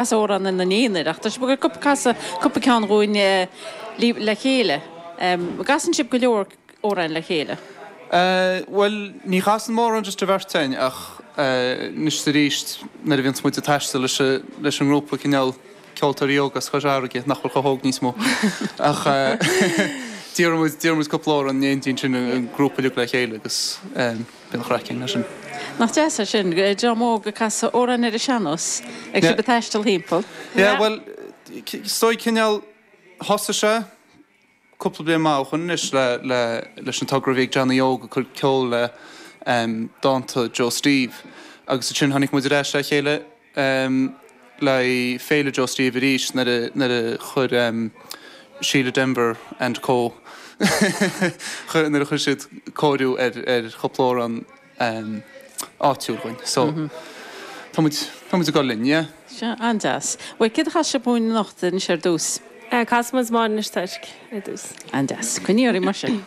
Casadh amhrán ina n-aonair, ach tá sibh ag dul casadh cúpla ceann dhúinn le chéile. An gcasann sibh go leor amhráin le chéile? Bhuel, ní chasann mórán just an bheirt againn ach anois is arís nuair a bhíonns muid ag taisteal leis an ngrúpa cineál ceoltóirí óga as Cois Fharraige, nach bhfuil chomh hóg níos mó, ach d'iarr muid, d'iarr muid cúpla amhrán in éindí ansin an grúpa uilig le chéile agus. Bíonn craic againn leis sin. Nach deas é sin, dream óg ag casadh amhráin ar an sean-nós agus sibh ag taisteal thimpeall. Yeah, bhuel, is dóigh cineál, thosaigh sé cúpla bliain maith ó shoin anois le, le, leis an togra a bhí ag Johnny Óg ag cur ceol le dánta Joe Steve agus ansin tháinig muid ar ais le chéile le Féile Joe Steve arís nuair a chuir Síle Denvir and Co. nuair a chuir siad cóiriú ar chúpla amhrán áitiúil dhúinn. So, tá muid, tá muid ag dul linn, yeah. Sea, an-deas. Bhuel, céard a chasfaidh sibh dhúinn anocht anois ar dtús? Casfaidh muid Máire Inis Toirc ar dtús. An-deas. Coinnigh oraibh mar sin.